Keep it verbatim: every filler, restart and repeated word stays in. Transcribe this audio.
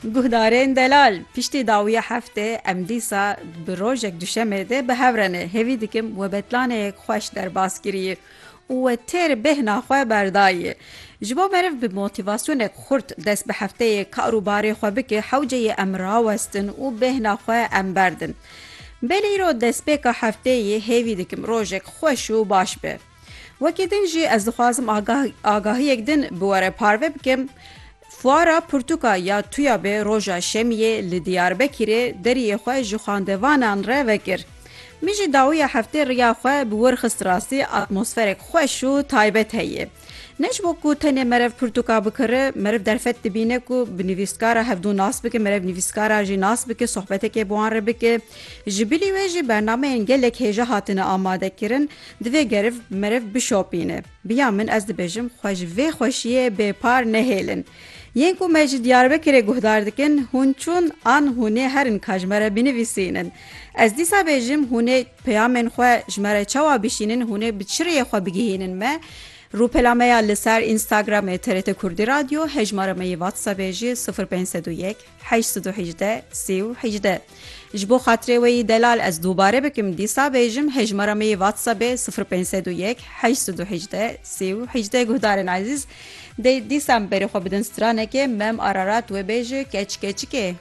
Guhdarên delal, piştî dawiya heftê em dîsa bi rojek duşemê de bi hev re ne. Hêvî dikim we betlaneyek xweş derbas kiriye û we têr bêhna xwe berdaye. Ji bo meriv bi motîvasyonek xurt dest bi hefteyê kar û barê xwe bike, hewce ye em rawestin û bêhna xwe em berdin. Belê îro destpêka hefteyê, hêvî dikim rojek xweş û baş be. Wekî din jî ez dixwazim agah-, agahiyek din bi we re parve bikim. Fuara Pirtûka ya Tuyabê roja Şemiyê li Diyarbekirê deriyê xwe ji xwendevanan re vekir. Min jî dawiya heftê riya xwe bi wir xist rastî, atmosferek xweş û taybet heye. Ne ji bo ku tenê meriv pirtûka bikire, meriv derfet dibîne ku bi nivîskara hevdû nas bike, meriv nivîskara jî nas bike, sohbetekê bi wan re bike. Ji bilî wê jî bernameyên gelek hêja hatine amadekirin, divê geriv meriv bişopîne. Bi ya min ez dibêjim, xwe ji vê xweşiyê bêpar nehêlin. Yên ku me ji Diyarbekirê guhdar dikin, hûn çûn an hûn ê herin ka ji me re binivîsînin. Ez dîsa bêjim, hûn ê peyamên xwe ji me re çawa bişînin, hûn ê bi çi rêyê xwe bigihînin me? Rûpela me ya li ser Instagramê T R T Kurdî Radyo, hejmara me yê WhatsAppê jî sifir pênc sed û yek, heşt sed û hejdeh, sî û hejdeh. Ji bo xatirê we yî delal ez dubare bikim, dîsa bêjim, hejmara me yê WhatsAppê sifir pênc sed û yek, heşt sed û hejdeh, sî û hejdeh. Guhdarên ezîz, dê dîsa em berê xwe bidin stranekê, Mem Ararat wê bêje Keç Keçikê.